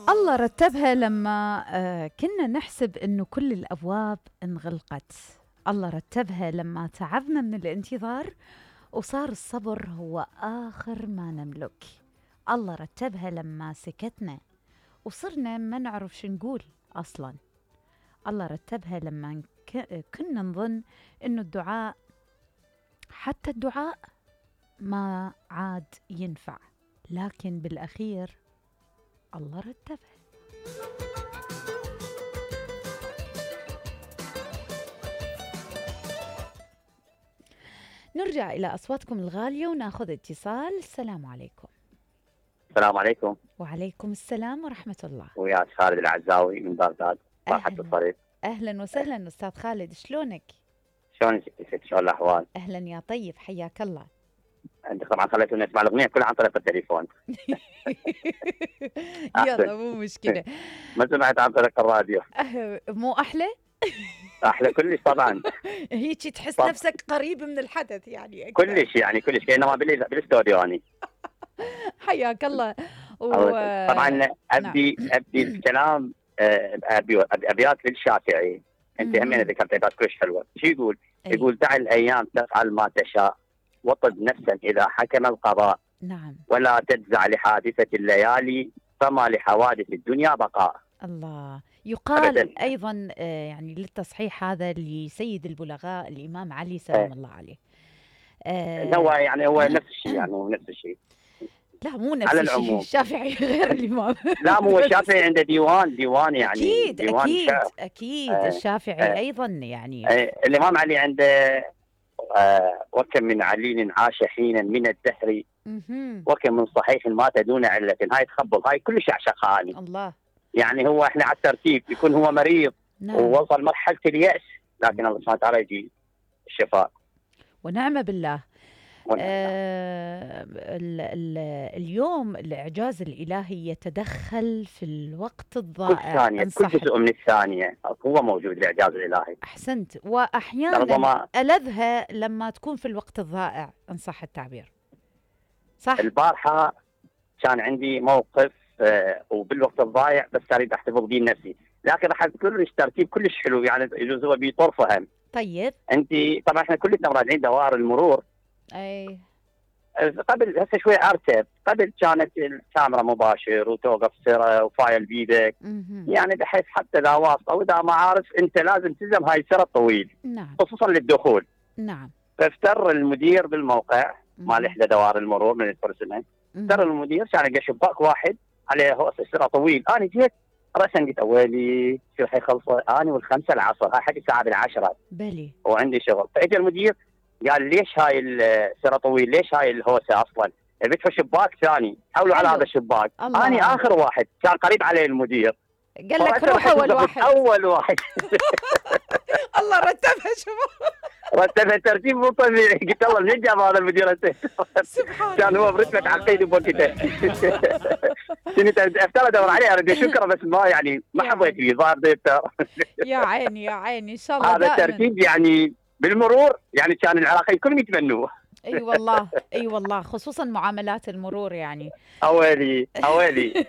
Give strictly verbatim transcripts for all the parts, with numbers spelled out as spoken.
الله رتبها لما آه، كنا نحسب إنه كل الأبواب انغلقت. الله رتبها لما تعبنا من الانتظار وصار الصبر هو آخر ما نملك. الله رتبها لما سكتنا وصرنا ما نعرف شو نقول أصلاً. الله رتبها لما ك- كنا نظن إنه الدعاء، حتى الدعاء ما عاد ينفع، لكن بالأخير الله رتبها. نرجع إلى أصواتكم الغالية وناخذ اتصال. السلام عليكم. السلام عليكم. وعليكم السلام ورحمة الله. وياك خالد العزاوي من بغداد. راحة الطريق. أهلا وسهلا أستاذ خالد، شلونك؟ شلون ست؟ شلون الأحوال؟ أهلا يا طيب، حياك الله. أنت طبعا خليتوني أسمع الأغنية كلها عن طريق التليفون. يلا مو مشكلة. ما سمعت عن طريق الراديو. أه مو أحلى؟ أحلى كلش طبعا. هيك تحس طب. نفسك قريب من الحدث يعني أكثر. كلش يعني كلش كأنما بال- بالاستوديو يعني. حياك الله. و... طبعا أبدي نعم. أبدي الكلام آه، أبي أبيات للشافعي. أنت مم. همين ذكرت أبيات كلش حلوة. شو يقول؟ أي. يقول دع الأيام تفعل ما تشاء وطب نفسا إذا حكم القضاء نعم. ولا تجزع لحادثة الليالي فما لحوادث الدنيا بقاء. الله. يقال أبداً. أيضا آه، يعني للتصحيح هذا لسيد البلغاء الإمام علي سلام إيه. الله عليه. هو آه يعني هو نفس الشيء يعني هو نفس الشيء. لا مو نفس على الشيء، العموم. الشافعي غير الإمام. لا مو الشافعي عنده ديوان ديوان يعني أكيد ديوان أكيد شعر. أكيد آه، الشافعي آه. أيضا يعني. آه، الإمام علي عنده آه، وكم من عليل عاش حينا من الدهر مهم. وكم من صحيح مات دون علة. هاي تخبل هاي كلش يعشقها يعني. الله. يعني هو احنا على الترتيب يكون هو مريض نعم. ووصل مرحلة اليأس لكن الله سبحانه وتعالى يجي الشفاء. ونعم بالله. ونعم. آه ال ال اليوم الإعجاز الإلهي يتدخل في الوقت كل الضائع. ثانية إن كل صح. جزء من الثانية هو موجود الإعجاز الإلهي. أحسنت. وأحيانا ربما ألذها لما تكون في الوقت الضائع إن صح التعبير. صح. البارحة كان عندي موقف آه، وبالوقت الضايع بس اريد احتفظ به نفسي لكن راح اذكر لك ترتيب كلش حلو يعني يجوز هو بطرفه هم. طيب. انت طبعا احنا كلنا راجعين دوائر المرور. أي. آه، قبل هسه شوي ارتب. قبل كانت الكاميرا مباشر وتوقف سيره وفايل بيدك مهم. يعني بحيث حتى اذا واسطه واذا ما عارف انت لازم تلزم هاي السيره الطويل نعم. خصوصا للدخول. نعم. فافتر المدير بالموقع مال احدى دوائر المرور من البرسنة. ترى المدير كان لقى شباك واحد عليه هوس سرعه طويل. انا جيت راسا قلت ويلي شو حيخلصه اني والخمسه العصر هاي حق الساعه بالعشره بلي. وعندي شغل. فاجى المدير قال ليش هاي السرعه طويل ليش هاي الهوسه اصلا بيدفع شباك ثاني حولوا على حلو. هذا الشباك. الله. اني اخر واحد كان قريب عليه المدير قال لك روح اول واحد. اول واحد. الله رتبها شوف. رتبها ترتيب مو طبيعي. قلت الله منين جاب هذا المدير؟ سبحان كان هو برتبة عقيد بوقته. كنت افترض ادور عليه اريد اشكره بس ما يعني ما يا حبيت لي ظاهر ديبتر. يا عيني يا عيني ان شاء الله هذا دائما. الترتيب يعني بالمرور يعني كان العراقيين كلهم يتمنوه. اي والله اي والله خصوصا معاملات المرور يعني. اويلي اويلي.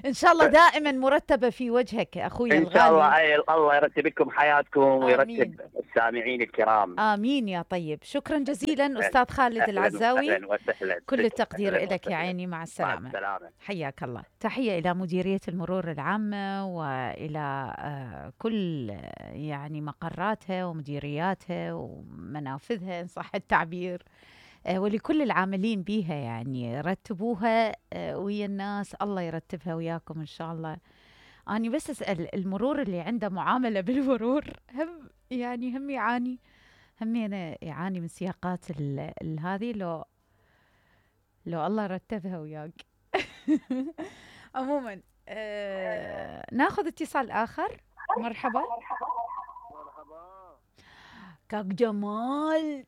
ان شاء الله دائما مرتبه في وجهك اخوي ان الغالي. شاء الله أي الله يرتب لكم حياتكم ويرتب آمين. السامعين الكرام. امين يا طيب. شكرا جزيلا استاذ خالد العزاوي. أهلاً وسهلاً. كل التقدير أهلاً لك يا وسهلاً. عيني. مع مع السلامه. السلامة. حياك الله. تحيه الى مديريه المرور العامه والى آه، كل آه، يعني مقراتها ومديرياتها ومنافذها ان صح التعبير. آه، ولكل العاملين بيها يعني رتبوها آه، ويا الناس. الله يرتبها وياكم إن شاء الله. أنا بس أسأل المرور اللي عنده معاملة بالمرور هم يعني هم يعاني هم أنا يعاني من سياقات ال- ال- هذه لو لو الله رتبها وياك. عموما آه ناخذ اتصال آخر. مرحبا. كاك جمال.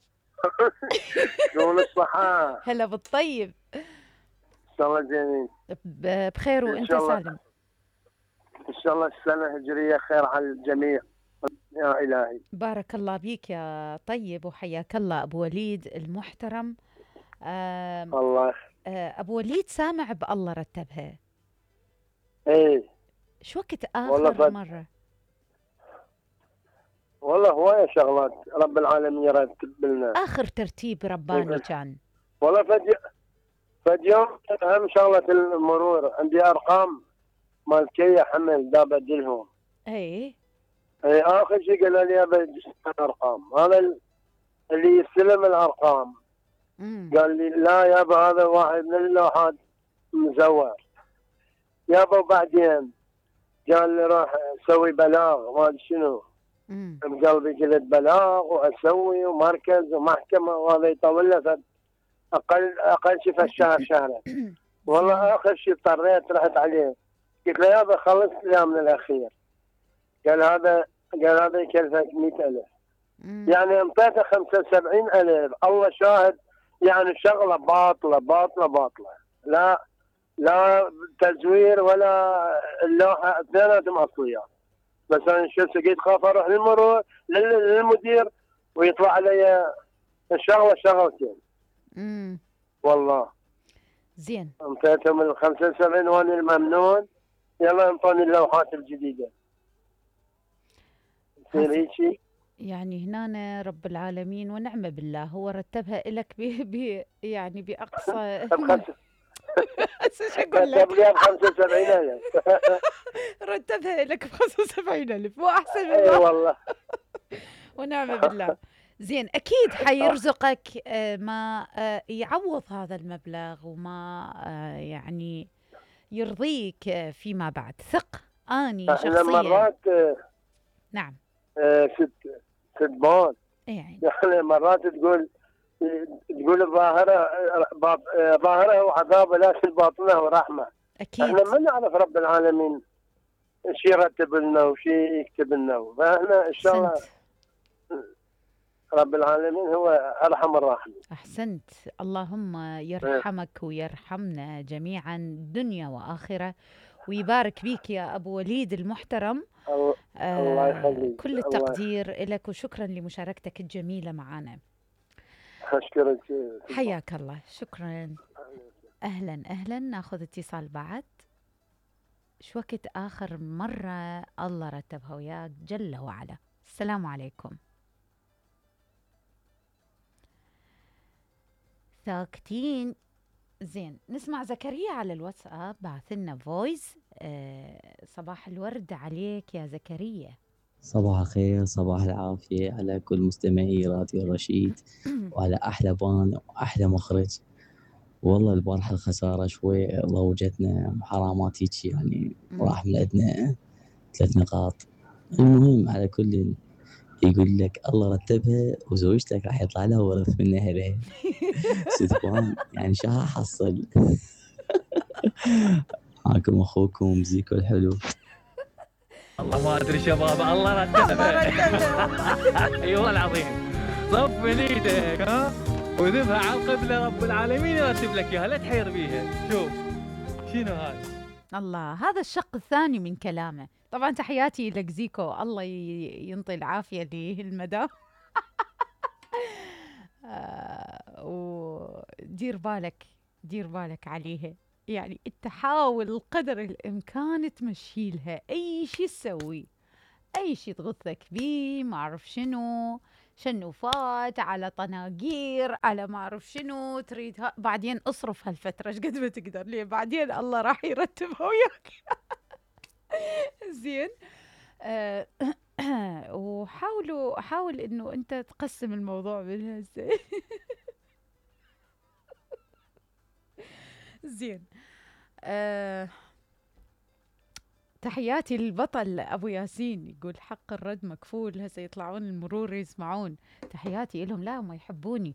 شلون الصحة؟ هلا بالطيب. إن شاء الله جميل. ب- بخير إن وانت شاء الله. سالم. إن شاء الله السنة الهجرية خير على الجميع يا إلهي. بارك الله بيك يا طيب وحياك الله أبو وليد المحترم. آم، الله آه، أبو وليد سامع بالله رتبها. ايه شو وقت والله اخر فد... مره؟ والله هواية شغلات رب العالمين يرتب لنا. اخر ترتيب رباني كان؟ والله فد فد يوم اهم شغلة المرور، عندي ارقام مالكية حمل دا بدلهم. اي اي اخر شيء قال لي ابى ارقام، هذا اللي يستلم الارقام امم قال لي لا يابا هذا واحد من اللوحات مزور يابا. وبعدين قال لي راح اسوي بلاغ ما ادري شنو، امم بقلبي قلت بلاغ واسوي ومركز ومحكمه، وهذا يطول له فد- اقل اقل شيء في الشهر شهرين. والله اخر شيء اضطريت رحت عليه قلت له يابا خلص لي من الاخير. قال هذا قال هذا يكلفك مئة ألف. مم. يعني انطيته خمسة وسبعين ألف. الله شاهد يعني شغله باطله باطله باطله، لا لا تزوير ولا اللوحه، اثنيناتهم اصليات. بس انا شو سقيت خاف اروح للمرور لل- للمدير ويطلع علي الشغله شغلتين. امم والله زين. انطيتهم ال خمسة وسبعين وانا الممنون، يلا انطوني اللوحات الجديده. يصير حسن. هيك شيء. يعني هنا رب العالمين ونعم بالله هو رتبها لك ب ب يعني باقصى بخمسة هسه شو اقول لك؟ كتب لي ب خمسة وسبعين ألف. رتبها لك ب خمسة وسبعين ألف، مو احسن من اي الله. والله. ونعم بالله. زين اكيد حيرزقك آه، ما آه، يعوض هذا المبلغ وما آه، يعني يرضيك آه، فيما بعد. ثق اني احنا شخصيا. مرات آه، نعم. آه، ست ست اي يعني يعني مرات تقول تقول الظاهرة باط- ظاهره وعذابه لكن باطنه ورحمة. اكيد. احنا ما نعرف رب العالمين ايش يرتب لنا وش يكتب لنا، فاحنا ان شاء الله احسنت رب العالمين هو ارحم الراحمين. احسنت. اللهم يرحمك ويرحمنا جميعا دنيا واخره، ويبارك بيك يا ابو وليد المحترم. الله الله آه يخليك. كل الله التقدير لك وشكرا لمشاركتك الجميلة معنا. اشكرك. حياك الله. شكرا. أهلا أهلا. ناخذ اتصال بعد. شو وقت آخر مرة الله رتبها وياك جل وعلا؟ السلام عليكم. ساكتين. زين نسمع زكريا على الواتساب بعث لنا فويس. آه صباح الورد عليك يا زكريا. صباح الخير، صباح العافية على كل مستمعي راديو رشيد وعلى أحلى بان وأحلى مخرج. والله البارحة الخسارة شوي ضوجتنا وحرامات هيك يعني راح من عندنا ثلاث نقاط. المهم على كل يقول لك الله رتبها وزوجتك راح يطلع لها ورث من أهلها. ستبان يعني شو حصل. معكم أخوكم زيكو الحلو. والله ما ادري شباب، الله رتبها. اي والله العظيم. صف من ايدك ها وذبها على القبله، رب العالمين يرتب لك اياها، لا تحير بيها. شوف شنو هذا. الله، هذا الشق الثاني من كلامه. طبعا تحياتي لك زيكو، الله ي- ينطي العافيه للمدام. آه ودير بالك دير بالك عليها، يعني انت حاول قدر الامكان تمشي لها اي شيء تسوي، اي شيء تغثك بيه، ما اعرف شنو شنوفات على طناقير على ما اعرف شنو تريد. بعدين اصرف هالفتره ايش قد ما تقدر، ليه بعدين الله راح يرتبها وياك. زين. آه وحاولوا حاول انه انت تقسم الموضوع من هسه. زين. آه تحياتي للبطل ابو ياسين، يقول حق الرد مكفول. هسه يطلعون المرور يسمعون. تحياتي لهم، لا هم يحبوني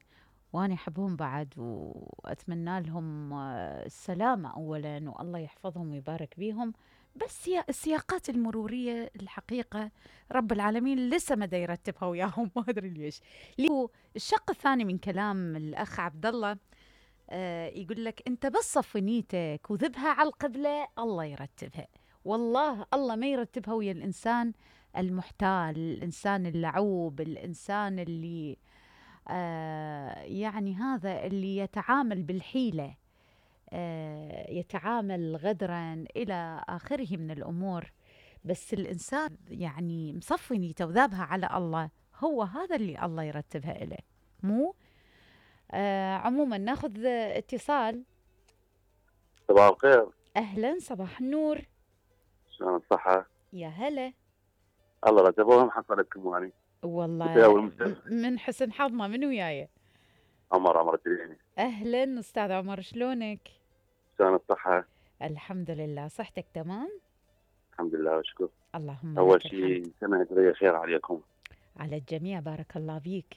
وانا احبهم بعد، واتمنى لهم السلامه اولا والله يحفظهم ويبارك بيهم. بس يا السياقات المروريه الحقيقه رب العالمين لسه ما يرتبها وياهم. ما ادري ليش. الشق الثاني من كلام الاخ عبد الله، آه يقول لك انت بس صفي نيتك وذبها على القبله الله يرتبها. والله الله ما يرتبها ويا الانسان المحتال، الانسان اللعوب، الانسان اللي آه يعني هذا اللي يتعامل بالحيله. آه، يتعامل غدرا إلى آخره من الأمور، بس الإنسان يعني مصفي نيته وذابها على الله، هو هذا اللي الله يرتبها إليه، مو آه عموما ناخذ اتصال. صباح الخير. أهلا، صباح النور. شلون الصحة؟ يا هلا. الله رتبوهم حصلتكم يعني. والله من حسن حظنا. من وياي؟ عمر عمر الدريني. أهلا أستاذ عمر، شلونك؟ شلون الصحة؟ الحمد لله، صحتك تمام؟ الحمد لله وشكر. اللهم أول لك شيء الحمد. سنة هجرية خير عليكم. على الجميع، بارك الله بيك.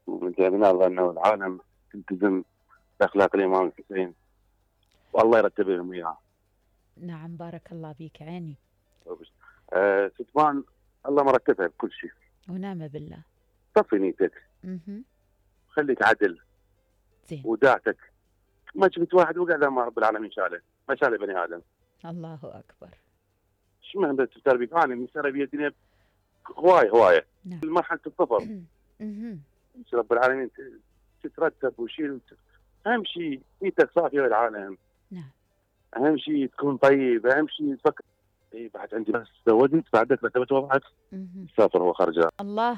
ومن أنه العالم تلتزم بأخلاق الإمام الحسين والله يرتب لهم إياها. نعم بارك الله بيك عيني. آه ستمان الله مرتبها بكل شيء. ونعم بالله. صفي نيتك. اها. خليك عدل. زين. وداعتك. ما شفت واحد وقع مع رب العالمين شاله، ما شاله بني آدم. الله أكبر. شو مهم تربيك؟ أنا من سنة بيدني هواية هواية. نعم. مرحلة الصفر. اها. رب العالمين تترتب وشيل. أهم شيء نيتك صافية للعالم. نعم. أهم شيء تكون طيب، أهم شيء تفكر. إيه بعد عندي بس زوجت بعدك رتبت وضعك سافر هو خرجان. الله.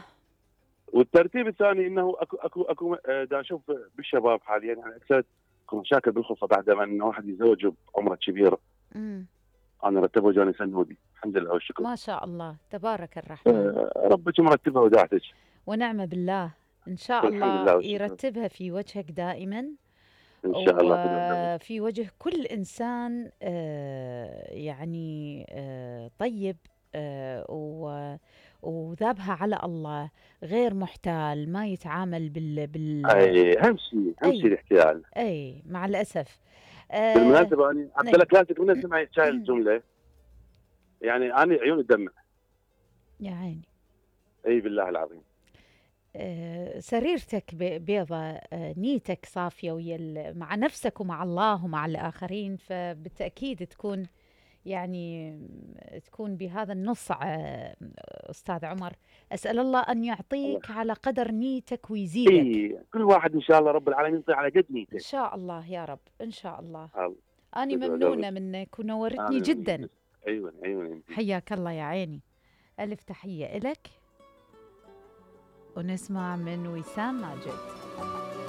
والترتيب الثاني انه اكو اكو اكو دا اشوف بالشباب حاليا يعني اكثر اكو مشاكل بالخلفه بعد ما انه واحد يتزوج بعمره كبير. امم انا رتبه جاني سنودي الحمد لله والشكر. ما شاء الله تبارك الرحمن. آه ربك مرتبها وداعتك. ونعم بالله، ان شاء الله يرتبها في وجهك دائما ان شاء الله، وفي وجه كل انسان آه يعني آه طيب آه وذابها على الله، غير محتال، ما يتعامل بال بال اي اهم شيء اهم شيء الاحتيال. اي مع الاسف. آه بالمناسبه انا عبد الله كلاسيك من اسمع هاي الجمله يعني انا عيوني تدمع. يا عيني. اي بالله العظيم. آه سريرتك بيضة، آه نيتك صافية ويا مع نفسك ومع الله ومع الآخرين، فبالتأكيد تكون يعني تكون بهذا النص. أستاذ عمر، أسأل الله أن يعطيك الله على قدر نيتك ويزيدك. إيه كل واحد إن شاء الله رب العالمين يعطيه على قد نيته إن شاء الله يا رب، إن شاء الله. الله. أنا ممنونة منك ونورتني جدا. أيوة أيوة. حياك الله يا عيني، ألف تحية إلك. ونسمع من وسام ماجد.